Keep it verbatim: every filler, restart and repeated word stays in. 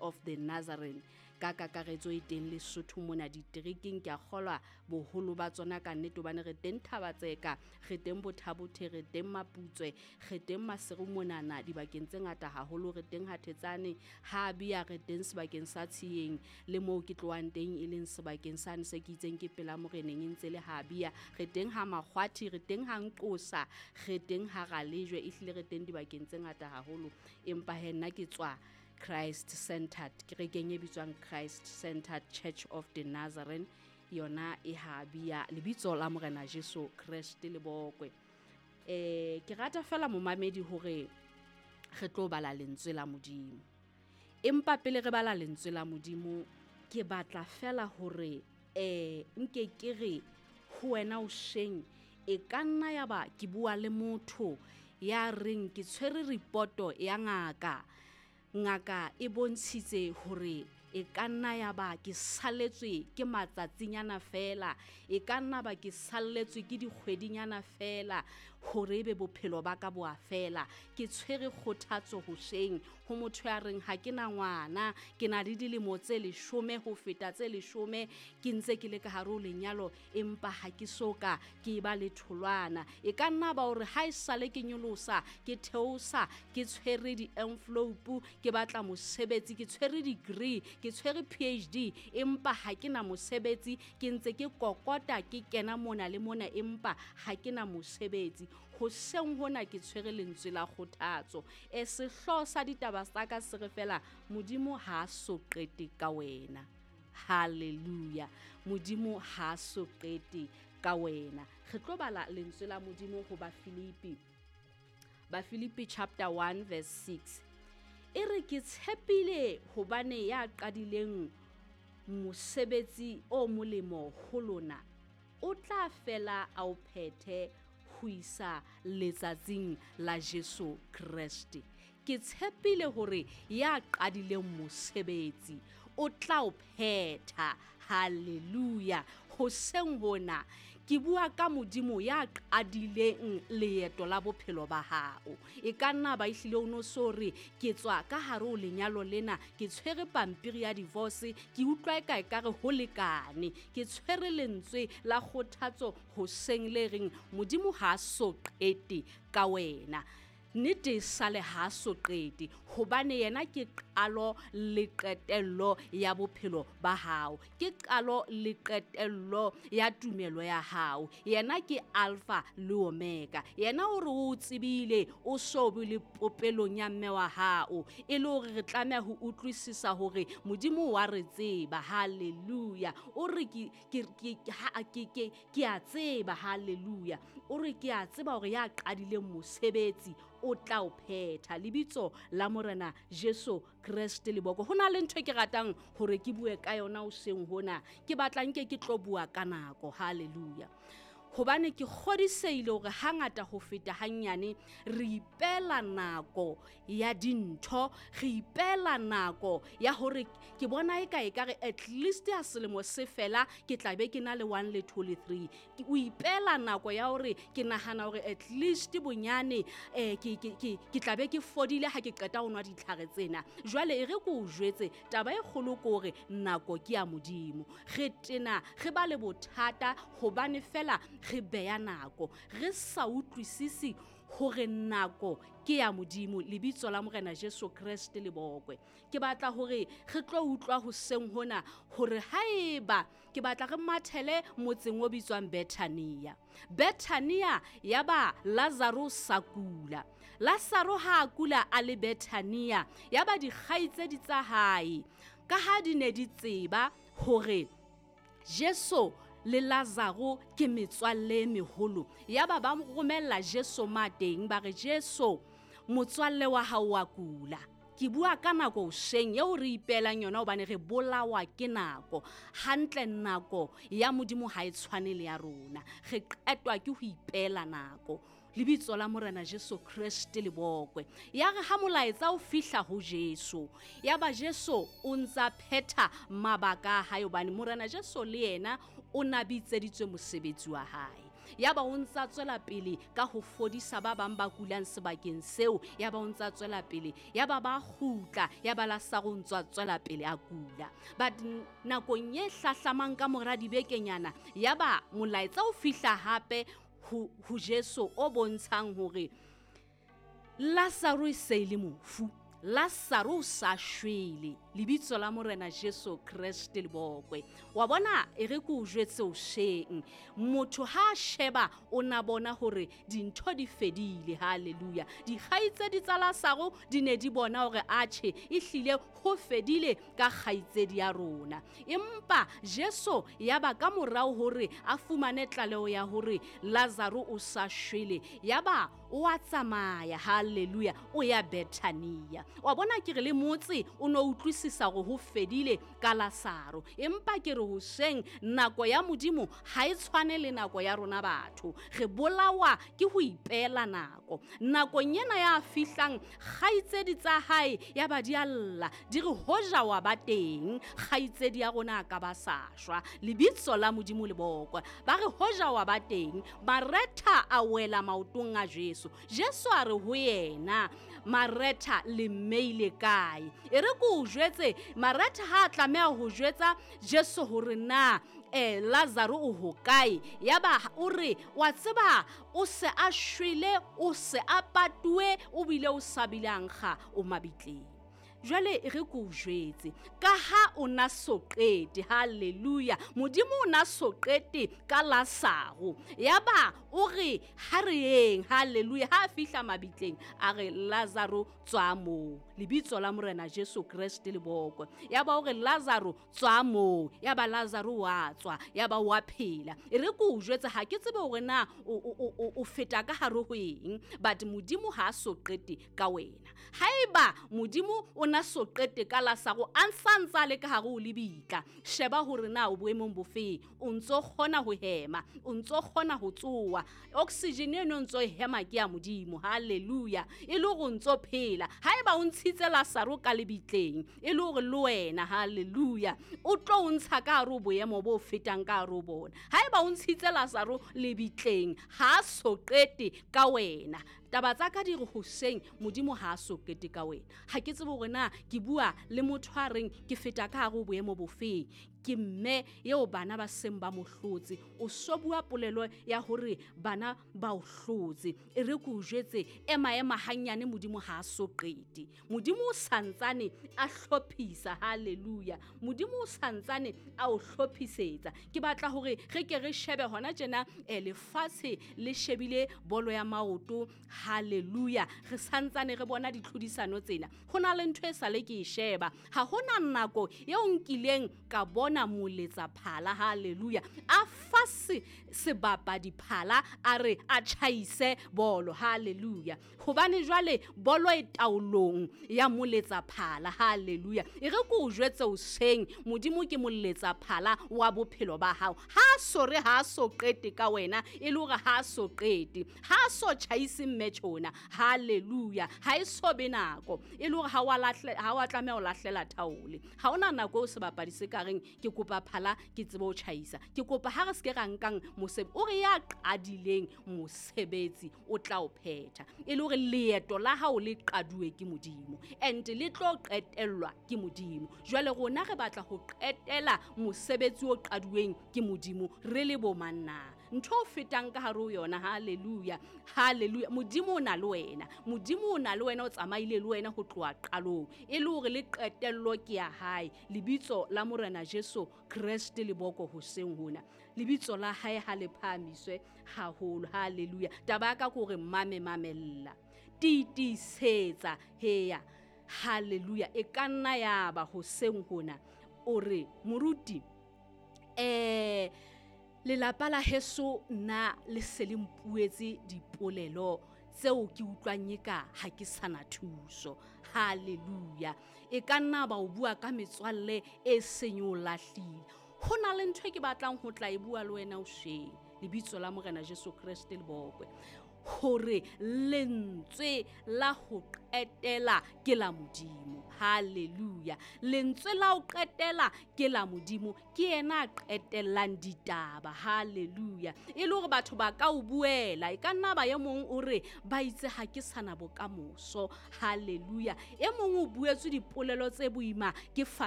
of the Nazarene ka kakaretso e teng Lesotho mona diterekeng. Ke a kgolwa boholo ba tsona ka nnete, hobane re teng Thabatseka, re teng Bothabothe, re teng Maputswe, re teng Maseru monana dibakeng tse ngata haholo, re teng Hathetsane, ha Bia, re teng sebakeng sa Tshiyeng le moo ke tlohang teng e leng sebakeng sane se ke itseng ke pela moreneng e ntse le ha Bia, re teng ha Makgwathi, re teng ha Nqosa, re teng ha Ralejwe, ehlile re teng dibakeng tse ngata haholo. Empa he nna ke tswa Christ Centered, kerekeng e bitswang Christ Centered Church of the Nazarene, yona e ha Bia, lebitso la Morena Jesu Kreste le bokwe. Eh ke rata fela momamedi hore re tlo bala lentswe la Modimo. Empa pele re bala lentswe la Modimo, ke batla fela hore eh nke ke re ho wena o sheng, e ka nna ya ba ke bua le motho ya reng ke tshwere reporto ya ngaka. Ngaka e bontshitse hore e ka nna ya ba ke salletswe ke matsatsinyana fela, e ka nna ba ke salletswe ke dikgwedinyana fela hore ebe bophelo ba ka bo a fela. Ke tshwere kgothatso hoseng ho motho ya reng ha ke na ngwana, ke na le dilemo tse leshome ho feta tse leshome, ke ntse ke le ka hare ho lenyalo empa ha ke so ka ke ba le tholwana. E ka nna ba hore ha e sale ke nyolosa, ke theosa, ke tshwere di-envelope, ke batla mosebetsi, ke tshwere degree, ke tshwere P H D empa ha ke na mosebetsi, ke ntse ke kokota ke kena mona le mona empa ha ke na mosebetsi. Hoseng hona ke tshwere lentswe la kgothatso. E sehlooho sa ditaba tsa ka se re fela, Modimo ha a so qete ka wena. Hallelujah. Modimo ha a so qete ka wena. Re tlo bala lentswe la Modimo ho Bafilipi. Bafilipi chapter one verse six. E re ke tshepile hobane ya qadileng mosebetsi o molemo ho lona o tla fela a o phethe ho isa letsatsing la Jesu Kreste. Ke tshepile hore ya qadileng mosebetsi o tla o phetha. Hallelujah. Hoseng hona ke bua ka Modimo ya qadileng leeto la bophelo ba hao. E ka nna ba ehlile o no so re ke tswa ka hare ho lenyalo lena, ke tshwere pampiri ya divorce, ke utlwa e ka ekare ho lekane. Ke tshwere lentswe la kgothatso hoseng le reng Modimo ha a so qete ka wena. Nnete e sale ha so qete, hobane yena ke qalo le qetello ya bophelo ba hao, ke qalo le qetello ya tumelo ya hao. Yena ke Alpha le Omega. Yena o re o tsebile o so be le popelong ya mme wa hao, e le hore re tlameha ho utlwisisa hore Modimo wa re tseba. Hallelujah. O re ke ke ke ha ke ke ke a tseba. Hallelujah. O re ke a tseba hore ya qadileng mosebetsi o tla o phetha. Lebitso la Morena Jesu Kreste le boko. Ho na le ntho e ke ratang hore ke bue ka yona hoseng hona. Ke batla nke ke tlo bua ka nako. Hallelujah. Hobane ke kgodisehile hore hangata ho feta hanyane re ipela nako ya dintho, re ipela nako ya hore ke bona e ka ekare at least ya selemo se fela ke tla be ke na le one le two le three. Ke o ipela nako ya hore ke nahana hore at least bonyane eh ke ke ke ke tla be ke fodile ha ke qeta ho nwa ditlhare tsena. Jwale e re ke o jwetse taba e kgolo ke hore nako ke ya Modimo. Re tena re ba le bothata hobane fela re beya nako, re sa utlwisisi hore nako ke ya Modimo. Lebitso la Morena Jesu Kreste le bokwe. Ke batla hore re tlo utlwa hoseng hona hore haeba ke batla re mathele motseng o bitswang Bethania. Bethania ya ba Lazaro sa kula. Lazaro ha a kula a le Bethania, ya ba dikgaitsedi tsa hae ka ha di ne di tseba hore Jesu le Lazaro ke metswalle e meholo, ya ba ba romella Jesu mateng, ba re Jesu motswalle wa hao wa kula. Ke bua ka nako hoseng eo re ipelang yona hobane re bolawa ke nako. Hantle nako ya Modimo ha e tshwane le ya rona. Re qetwa ke ho ipela nako. Lebitso la Morena Jesu Kreste le bokwe. Ya re ha molaetsa o fihla ho Jesu, ya ba Jesu o ntsa phetha mabaka a hae, hobane Morena Jesu le yena o na bitseditswe mosebetsi wa hae. Yaba o ntsa tswela pele ka ho fodisa ba bang ba kulang sebakeng seo. Yaba o ntsa tswela pele, yaba ba kgutla, yaba Lasaro o ntsa tswela pele a kula. But nakong e hlahlamang ka mora dibekenyana, yaba molaetsa o fihla hape ho, ho Jesu o bontshang hore Lazaro e se le mofu, Lazaro o sa shwele. Lebitso la Morena Jesu Kreste le bokwe. Wa bona e re ke o jwetse o sheng, motho ha sheba o na bona hore dintho di fedile. Hallelujah. Dikgaitsedi tsa Lazaro di ne di bona hore atjhe ehlile ho fedile ka kgaitsedi ya rona. Empa Jesu yaba ka morao hore a fumane tlaleho ya hore Lazaro o sa shwele, yaba o a tsamaya. Hallelujah. O ya Bethania. Wa bona ke re le motse o no utlwisisa hore ho fedile ka Lazaro. Empa ke re hoseng nako ya Modimo ha e tshwane le nako ya rona batho. Re bolawa ke ho ipeela nako. Nakong ena ya fihlang kgaitsedi tsa hae ya ba di a lla, di re hoja wa ba teng kgaitsedi ya rona a ka ba sa shwa. Lebitso la Modimo le bokwe. Ba re hoja wa ba teng. Maretha a wela maotong a Jesu. Jesu a re ho yena, Maretha le mmeile kae? E re ke o jwetse, Maretha ha a tlameha ho jwetsa Jesu hore na eh Lazaro o hokae. Yaba o re wa tseba o se a shwele, o se a patuwe, o bile o sa bile a nkga o mabitleng. Jwale e re ke o jwetse, ka ha o na so qete. Hallelujah. Modimo o na so qete ka Lazaro. Yaba o re ha re yeng. Hallelujah. Ha fihla mabitleng a re Lazaro tswa moo. Lebitso la Morena Jesu Kreste le bokwe. Yaba o re Lazaro tswa moo. Yaba Lazaro wa tswa, yaba wa phela. E re ke o jwetse, ha ke tsebe hore na o, o, o, o feta ka hare ho eng, but Modimo ha so qete ka wena. Haeba Modimo o na so qete ka Lazaro a ntsa le ka hare ho lebitla, sheba hore na o boemong bofe. O ntso kgona ho hema, o ntso kgona ho tsoa, oxygen eno o ntso hema ke ya Modimo. Hallelujah. E le hore o ntso phela. Haeba o ntshitse Lazaro ka lebitleng, e le hore le wena, hallelujah, o tlo o ntsha ka hare ho boemo bo fetang ka hare ho bona. Haeba o ntshitse Lazaro lebitleng, ha so qete ka wena. Taba tsa ka di re hoseng Modimo ha so qete ka wena. Ha ke tsebe hore na ke bua le motho a reng ke feta ka hare ho boemo bofeng. Ke mme eo bana ba seng ba mo hlotse. O so bua polelo ya hore bana ba o hlotse. E re ke o jwetse, ema ema hanyane, Modimo ha so qete. Modimo o santsane a hlophisa. Hallelujah. Modimo o santsane a o hlophisetsa. Ke batla hore re ke re shebe hona tjena, eh, lefatshe le shebile bolo ya maoto. Hallelujah. Re santsane re bona ditlhodisano tsena. Ho na le ntho e sale ke e sheba. Ha hona nako eo nkileng ka bona moletsa phala. Hallelujah. A fa se sebapadi phala, a re a tjhaise bolo. Hallelujah. Hobane jwale bolo e taolong ya moletsa phala. Hallelujah. E re ke o jwetse hoseng, Modimo ke moletsa phala wa bophelo ba hao. Ha so re ha so qete ka wena, e le hore ha so qete, ha so tjhaise mme tjhona. Hallelujah. Ha e so be nako e le hore ha wa lahle, ha wa tlameha ho lahlela thaole. Ha ona nako eo sebapadi se ka reng ke kopa phala ke tsebe ho tjhaisa. Ke kopa ha re se ke ra nkang mosebetsi, o re ya qadileng mosebetsi o tla o phetha. E le hore leeto la hao le qaduwe ke Modimo and le tlo qetellwa ke Modimo. Jwale rona re batla ho qetela mosebetsi o qaduweng ke Modimo re le bo mang na? Ntho o fetang ka hare ho yona. Hallelujah. Hallelujah. Modimo o na le wena. Modimo o na le wena, o tsamaile le wena ho tloha qalong. E le hore le qetello ke ya hae. Lebitso la Morena Jesu Kreste le boko hoseng hona. Lebitso la hae ha le phahamiswe haholo. Hallelujah. Taba ya ka ke hore mame mamella. Tiisetsa heya. Hallelujah. E ka nna ya ba hoseng hona o re moruti, eh lelapa la heso nna le se le mpuetse dipolelo tseo ke utlwang eka ha ke sana thuso. Hallelujah. E ka nna ba o bua ka metswalle e seng o lahlile. Ho na le ntho e ke batlang ho tla e bua le wena hoseng. Lebitso la Morena Jesu Kreste le bokwe. hore lentswe la ho qetela ke la Modimo. Hallelujah. Lentswe la ho qetela ke la Modimo, ke yena a qetellang ditaba. Hallelujah. E le hore batho ba ka o buela, e ka nna ba e mong o re ba itse ha ke sana bokamoso. Hallelujah. E mong o buetswe dipolelo tse boima ke